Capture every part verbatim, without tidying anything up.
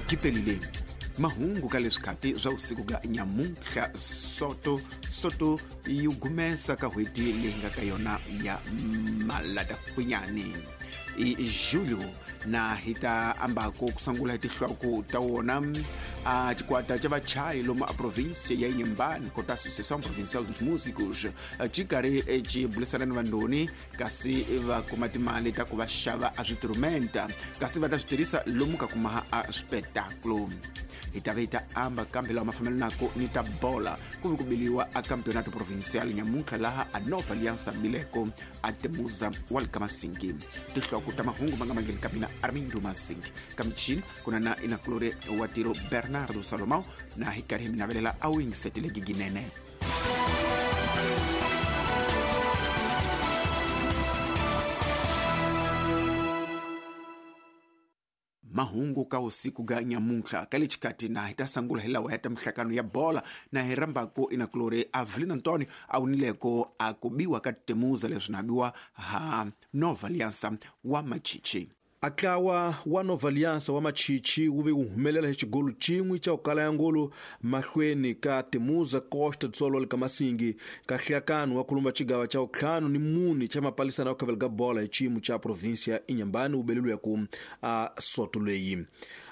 Kipelile mahungu ka leswikhati swa usiku ga nyamuntlha soto soto yi gumesa ka hweti leyi nga ka yona ya Malatakhwinyani i julho na hita ambako kusangula hi tihloko ta wona a xikwata xa vachayi lomu a província ya Inhambane kota Associação Provincial dos Músicos xi karhi xi bulisana ni vandoni kasi va kuma timali ta ku va xava a switrumenta kasi va ta swi tirhisa lomu ka kuma a swipetaklo. Hi ta va amba kambe lawa ma fambelanaka ni ta bola ku vi ku biliwa a campeonato provincial nyamuntlha laha a Nova Aliança Bileko a Temuza wa le ka Masingi. Tihloko ta mahungu ma nga mangeni ka mina Armindo Masingi ka michini ku na na inakulore wa tiro Bernardo Salomão na hi karhi mi navelela a wingisetile giginene. Mahungu ka usiku ga nyamuntlha ka le xikati na hi ta sangula hi lawa ya ta mihlakano ya bola na hi rambako inakulore Avelino Antonio a wunileko a ku biwa ka Temuza leswi na biwa ha Nova Aliança wa Machichi. Atlawa wa Nova Aliança wa Machichi wu ve wu humelela hi xigolo xin'we xa ku kala ya ngolo mahlweni ka Temuza Costa do Sol le ka Masingi ka hlakano wa kulumba xigava xa ntlhanu ni mune xa mapalisana wa khavela ka bola hi xiyimo xa província ya Inhambane wu beleliwe ku a soto leyi.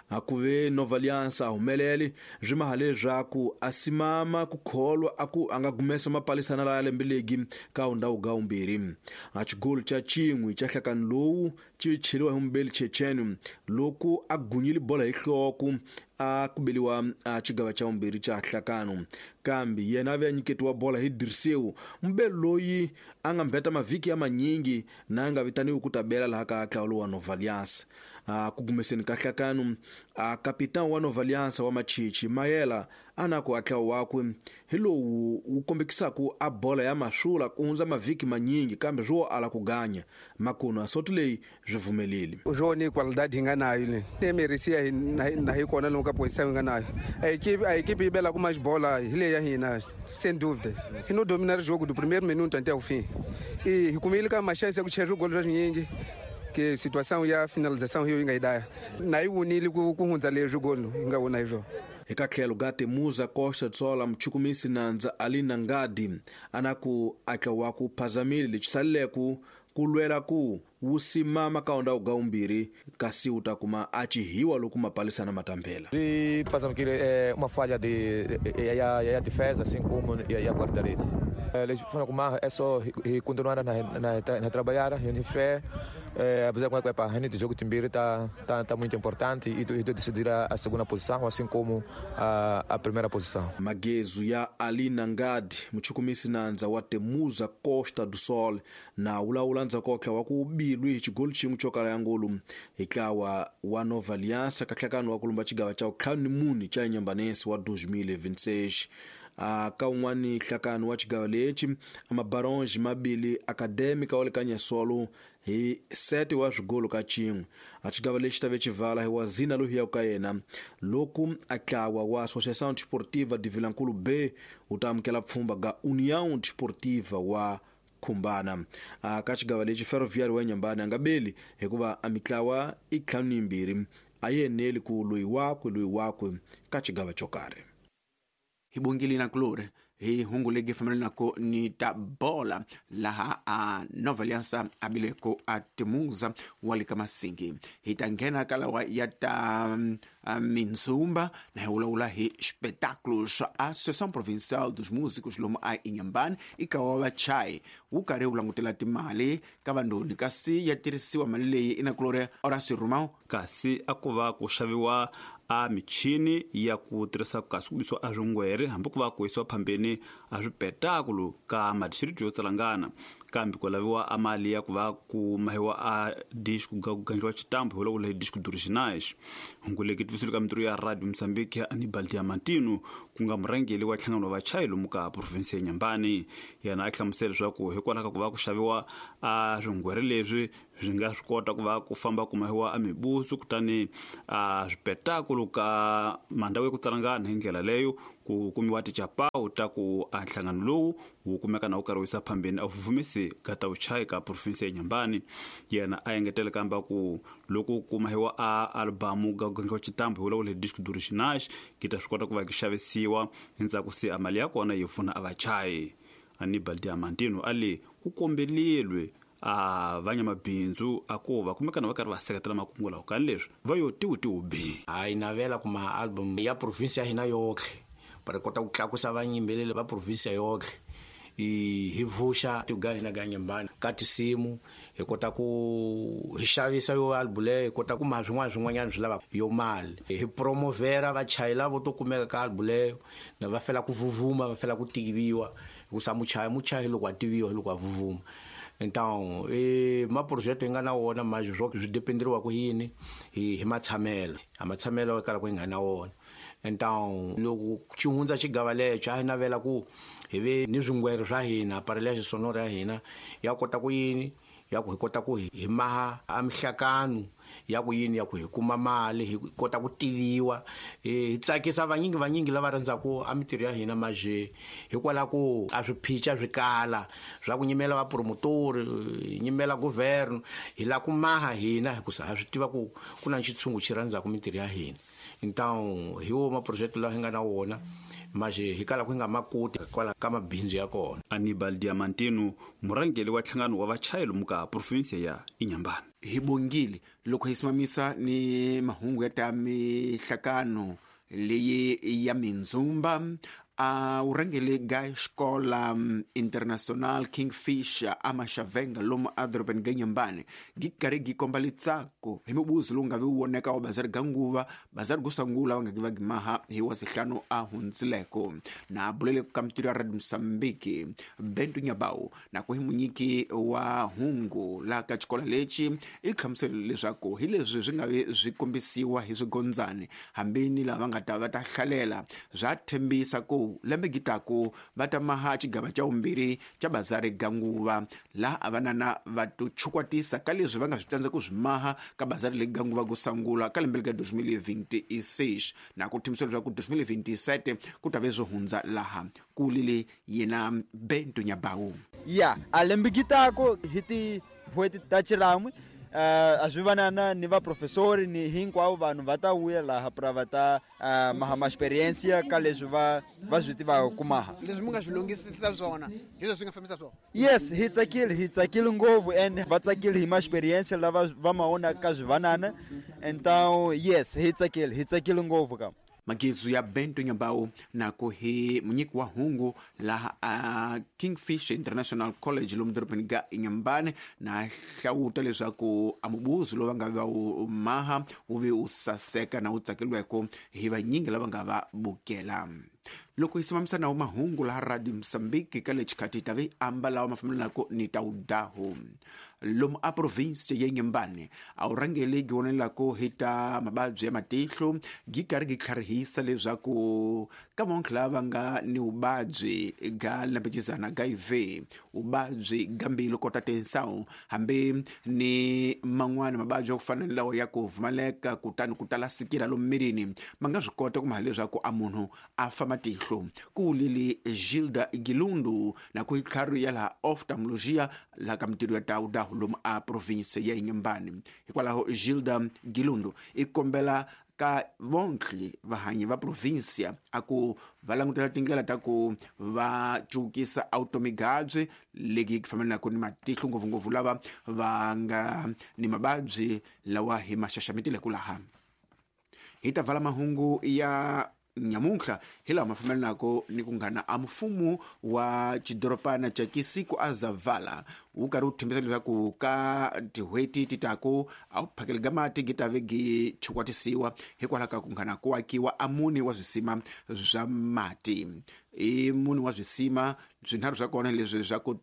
A ku ve Nova Aliança a humelele swi maha leswaku a simama ku kholwa a ku a nga gumesa mapalisana laya lembe legi ka undhawu ga umbirhi. A xigolo xa xin'we xa hlakano lowu xi cheriwa hi mumbeli Checheni loko a gunyile bola hi nhloko a ku beliwa a xigava xa umbirhi xa hlakano kambe yena a ve a nyiketiwa bola hi Dirceu mumbeli loyi a nga mbeta mavhiki ya manyingi na a nga vitaniwi ku ta bela laha ka ntlawa wa Nova Aliança. A ku gumeseni ka hlakano a kapitão wa Nova Aliança wa Machichi Mayela a na ku atlawa wakwe hi lowu wu kombekisaka a bola ya masula ku hundza mavhiki manyingi kambe swo ala ku ganya makuno a soto leyi swi pfumeleli. O jogo ni qualidade hi nga nayo le ne merecia na na hi kona lomu ka posição hi nga nayo a equipe a equipe yi bela ku mais bola hi leyi ya hina sem dúvida hi no dominar o jogo do primeiro minuto até o fim e hi kumile ka ma chance ya ku chera gol swa swinyingi que situação ya finalização hiyo yi nga yi daya na yi wunile ku ku hundza leswi golo hi nga wona hi swona. Eka tlhelo ga Temuza Costa do Sol muchukumisi nandza Alina Ngadi ana ku atla wa ku phazamile lexi saleleku ku lwela ku wu simama ka undhawu ga umbirhi kasi wu ta kuma a chihiwa loko mapalisana matambela. E passamos que é uma falha de ya ya defesa assim como ya guarda-rede. Eles foram com é só continuar na na na trabalhar, em fé, apesar que a gente jogo timbiri tá tá tá muito importante e e decidir a, a segunda posição assim como a a primeira posição. Magezo ya Alina Ngadi muchukumisi nandza wa Temuza Costa do Sol na ulawula ndzakokla wa ku bilwi hi xigolo xin'we xo kala ya ngolo hi ntlawa wa Nova Aliança ka nhlakano wa kulumba xigava xa ntlhanu ni mune xa Inhambane wa dois mil e vinte e seis. A ka un'wani nhlakano wa xigava lexi amabaronge mabili acadêmica wa le ka Nyasolo hi sete wa swigolo ka xin'we. A xigava lexi ta ve xivala hi wa Zina loyi ka yena loko a ntlawa wa Associação Desportiva de Vilankulu B wu ta amukela pfhumba ga União Desportiva wa Khumbana. A ka xigava lexi Ferroviário wa Inhambane a nga beli hikuva a mitlawa i ntlhanu ni yimbirhi a yi eneli ku loyi wakwe loyi wakwe ka xigava xo karhi. Hi bongile na kulore hi hungu legi fambelanaka ni ta bola laha a Nova Aliança a bileko a Temuza wa le ka Masingi. Hi ta nghena ka lawa ya ta mindzumba na hi vulavula hi espetáculos swa Associação Provincial dos Músicos lomu a Inhambane i ka wa vachayi wu karhi wu langutela timali ka vandoni kasi ya tirhisiwa mali leyi inakulore Horácio Romão kasi a ku va ku xaviwa a michini ya ku tirhisa kasi ku bisiwa a swingwere hambi ku va ku yisiwa phambeni a swipetakulu ka madistrito yo tsalangana kambe ku laviwa a mali ya ku va ku mahiwa a disco ku gandliwa xitambu hi vulavula hi disco d'originais. Hungu leki tivisile ka mintirho ya Radio Mozambique ya Anibal Diamantino ku nga murhangeri wa nhlangano wa vachayi lomu ka province ya Inhambane. Yena a hlamusela leswaku hikwalaho ka ku va ku xaviwa a swingwere leswi swi nga swi kota ku va ku famba kumahiwa a mibusu kutani a swipetakulu ka mandhawu ya ku tsalangana hi ndlela leyo ku kumiwa tichapawu ta ku a nhlangano lowu wu kumeka na wu karhi wu yisa phambeni a vuvumisi ka ta vuchayi ka provinsi ya Inhambane. Yena a engetele kamba ku loko kumahiwa a albamu ga gangiwa xitambu hi vulavula hi disco d'originais ki ta swi kota ku va ki xavisiwa endzhaku se a mali ya kona yi pfuna a vachayi. Anibal Diamantino a le ku kombelelwe a vanyamabindzu a ku va kumekana va karhi va seketela makungu lawa ka leswi va yo tiwutiwubi. A yi navela kuma album ya provinsi ya hina yotlhe para kota ku tlakusa vanyimbeleli va provinsi yotlhe hi vuxa tiga hina ga Inhambane ka tinsimu hi kota ku hi xavisa yo album leyo hi kota ku ma swin'wana swin'wanyana swi lava yo mali hi promovera vachayi lavo to kumeka ka album leyo na va fela ku vuvuma va fela ku tiviwa hikusa muchayi muchayi loko a tiviwa hi loko a vuvuma. Então e ma projeto hi nga na wona manje swo swi dependeriwa ku yini hi hi matshamelo a matshamelo kala ku hi nga na wona. Então loko xi hundza xigava lexo a hi navela ku hi ve ni swingwere swa hina aparelho ya sonoro ya hina ya kota ku yini ya ku hi kota ku hi maha a mihlakano ya ku yini ya ku hi kuma mali hi kota ku tiviwa hi tsakisa vanyingi vanyingi lava rhandzaku a mitirho ya hina maje hikwalaho ku a swiphica swi kala swa ku nyimela vapromotori hi nyimela governo hi lava ku maha hina hikusa ha swi tiva ku ku na xitshungu xi rhandzaku mitirho ya hina. Então hi wo maprojeto lawa hi nga na wona maje hi kala ku hi nga makoti kwala ka mabindzu ya kona. Anibal Diamantino murhangeri wa nhlangano wa vachayi lomu ka provinsi ya Inhambane. Hi bongile loko hi simamisa ni mahungu ya ta mihlakano leyi ya mindzumba a wu rhangele ga xikola International Kingfish a Maxavenga lomu a dorobeni ga Inhambane gi karhi gi komba litsako hi mubuzo lowu nga vi wu voneka wa bazari ga nguva bazari go sungula va nga gi va gimaha hi wa sihlanu a hundzileko na bulele ka mitirho ya Radio Mozambique Bento Nyabau na ku hi munyiki wa hungu laha ka xikola lexi i hlamusela leswaku hi leswi swi nga vi swi kombisiwa hi swigondzani hambi ni lava nga ta va ta hlalela swa thembisa ku lembe gitaku va ta maha xigava xa vumbirhi xa bazari ga nguva laha a vanana va to chukwatisa ka leswi va nga swi tsandza ku swi maha ka bazari leyi ga nguva ku sungula ka lembe ka twenty twenty-six na ku thembisa leswaku twenty twenty-seven ku ta ve swo hundza laha ku lile yena Bento Nyabau. Ya a lembe gitaku hi tin'hweti ta Chiramwi Uh, a swi vanana ni vaprofesori ni hinkwavo vanhu va ta vuya laha pra va ta uh, maha ma experiência ka leswi va va swi tivaka ku maha leswi mi nga swi lunghisisa swona hi leswi nga fambisa swona. Yes, hi tsakile hi tsakile ngopfu and va tsakile hi ma experiência lava va ma vona ka swivanana. Então yes, hi tsakile hi tsakile ngopfu ka Magizu ya Bento Nyabau na ku hi munyiki wa hungu laha a Kingfish International College lomu dorobeni ga Inhambane na hlawuta leswaku a mubuzo lowu va nga va wu maha wu ve wu saseka na wu tsakeliweko hi vanyingi lava nga va bukela. Loko hi simamisa nawu mahungu laha Radio Mozambique ka le xikhathi ta vi amba lawa ma fambelanaka ni ta wudahu lomu a provinsi ya Inhambane a wu rhangeli gi vonelako hi ta mavabyi ya matihlo gi karhi gi tlharihisa leswaku ka vonke lava nga ni vuvabyi ga lembecizana ga I V vuvabyi ga mbilu kota tensão hambi ni man'wana mavabyi ya ku fana ni lawa ya ku pfumaleka kutani ku tala sikila lomu mirini ma nga swi kota ku maha leswaku a munhu a fa matihlo ku lili Gilda Gilundu na ku tlhari ya laha oftalmologia laha ka mitirho ya tawudahu lomu a provinsi ya Inhambane. Hikwalaho Gilda Gilundu i kombela ka vonke vahanyi va provinsia a ku va langutela tindlela ta ku va cukisa automigabyi legi ku fambelanaka ni matihlo ngopfungopfu lava va nga ni mavabyi lawa hi ma xaxametileke laha. Hi ta vala mahungu ya nyamuntlha hi lawa ma fambelanaka ni ku nghana a mfumo wa xidoropana xa Kisiku a Zavala wu karhi wu thembisa leswaku ka tin'hweti ti taku a wu phakeli ga mati gi ta ve gi chukwatisiwa hikwalaho ka ku nghana ku akiwa a mune wa swisima swa mati i mune wa swisima swinharhu swa kona leswi swa ku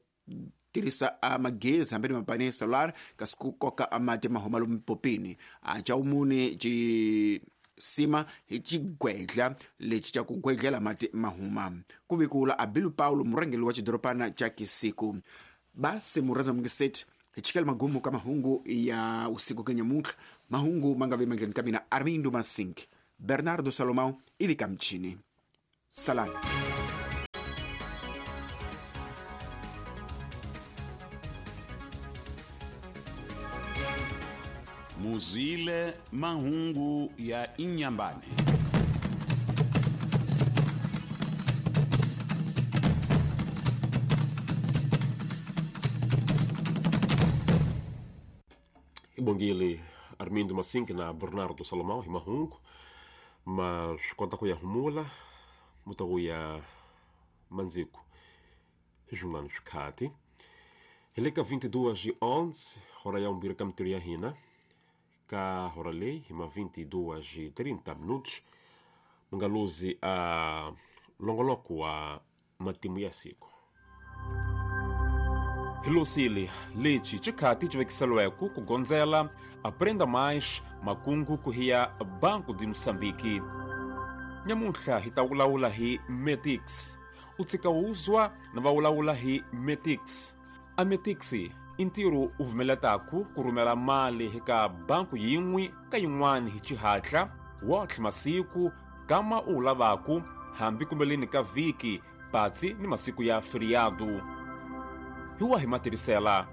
tirhisa a magezi hambi ni mapani solar kasi ku koka a mati ma huma lomu popini a xa vumune xi sima hi xigwedla lexi xa ku gwedlela mati mahuma ku vikula a Bilu Paulo murhangeri wa xidoropana xa Kisiku basi murhandza mungiseti Hi chikela magumu ka mahungu ya usiku ka nyamuntlha. Mahungu ma nga ve mandleni ka mina Armindo Masink, Bernardo Salomão ivi ka mchini. Salani. Muzile mahungu ya Inyambane. Ibongile Armindo Masink na Bernardo Salomão hi mahungu ma swi kota ku ya humula muta ku ya mandziku hi swin'wana swikhati. Hi le ka vinte e duas e onze hora ya vumbirhi ka mintirho ya hina ka hora leyi hi ma vinte e duas e trinta minutos mu nga luzi a longoloko wa matimu ya siku. Hi lusile lexi xikhati xi vekiseliweke ku gondzela Aprenda Mais makungu ku hiya Banco de Moçambique. Nyamuntlha hi ta vulavula hi Metix. U tshika wuzwa na va vulavula hi Metix. A Metix i ntirho u vumeletaku ku rhumela mali hi ka banku yin'we ka yin'wana hi xihatla wotlhe masiku kama u lavaku hambi kumbeleni ka vhiki patsi ni masiku ya feriado. Hi wa hi matirhisela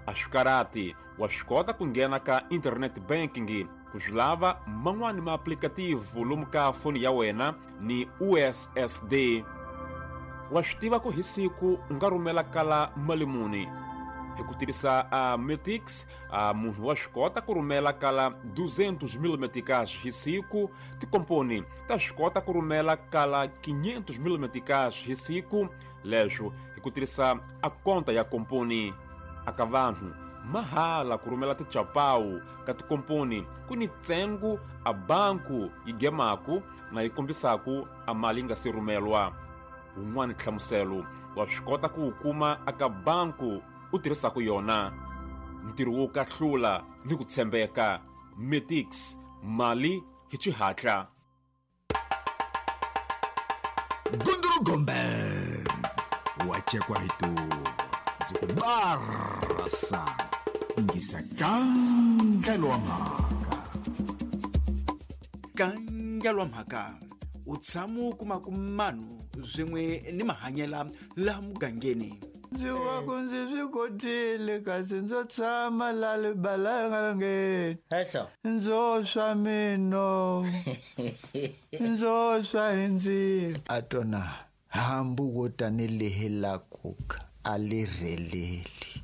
a swi karati wa swi kota ku nghena ka internet banking ku swi lava man'wani ma applicative lomu ka foni ya wena ni U S S D. Wa swi tiva ku hi siku u nga rhumela kala mali muni hi ku tirhisa a Metix. A munhu wa swi kota ku rhumela kala duzentos mil meticais hi siku. Tikomponi ta swi kota ku rhumela kala quinhentos mil meticais hi siku leswo hi ku tirhisa a konta ya komponi. Aka vanhu mahala ku rhumela tichapawu ka tikomponi ku ni ntsengo a banku yi gemaku na yi kombisaku a mali yi nga se rhumelwa. Wun'wani nhlamuselo wa swi kota ku wu kuma aka banku u tirhisaku yona. Ntirho wo kahlula ni ku tshembeka. Metix, mali hi xihatla. Gundurugombe wachekwa hitu ndzi ku barasa ingisa kangelwa mhaka. Kangelwa mhaka u tshama u kuma ku manu swin'we ni mahanyela laha mugangeni. Ndzi wa ku ndzi swi kotile kasi ndzo tshama la libalangeni ndzo swa mino ndzo swa hi ndzilo a tona hambu wo tanihi la kuka a li rheleli.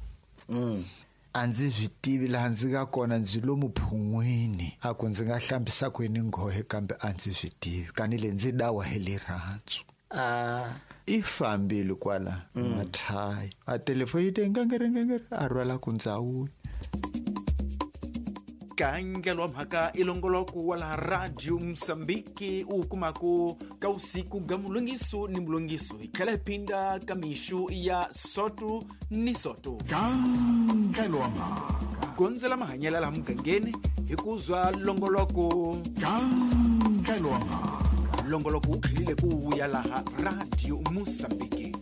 A ndzi swi tivi laha ndzi nga kona, ndzi lomu phun'wini a ku ndzi nga hlambisa kwini nghohe kambe a ndzi swi tivi kanile ndzi dawa hi rirhandzu. Ah. I fambile kwala mathayi a telefoni yi te ngengere ngengere a rhwala ku ndzawuya. Kangelwa mhaka i longoloko wa laha Radio Mosambiki u kumaku ka usiku ga mulungiso ni mulungiso hi tlhela hi phinda ka mixu ya soto ni soto. Kangelwa mhaka gondzela mahanyela laha mugangeni hi ku zwa longoloko. Kangelwa mhaka longoloko wu tlhelile ku vuya laha Radio Mosambiki.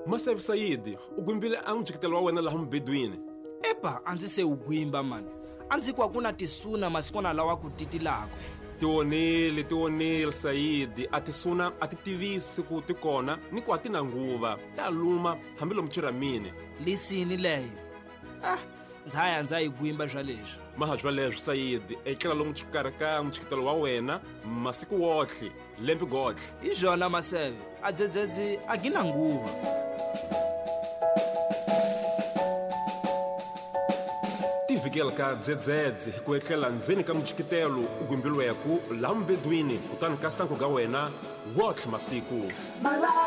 Masef Said, u gwimbile a n'wi wa wena laha mubedweni. Epa, a ndzi se wu gwimba mani. A ndzi ku a ku na tisuna masikwana lawa ku titilaka. Tionile, tionile Said, a tisuna a ti tivisi ku ti kona ni ku a ti na nguva. Ta luma hambi lomu chiramini. Lisini leyo. Ah, ndza ya ndza yi gwimba swa leswi. Maha swa leswi Said, etlela lomu xikarhi ka mutshikitelo wa wena masiku wotlhe, lembe gotlhe. Hi swona Maseve, a dzedzedzi a gi na nguva. Tivikela ka dzedzedze hi ku etlela ndzeni ka mutshikitelo u gwimbilweku laha mubedweni kutani ka sangu ga wena wotlhe masiku.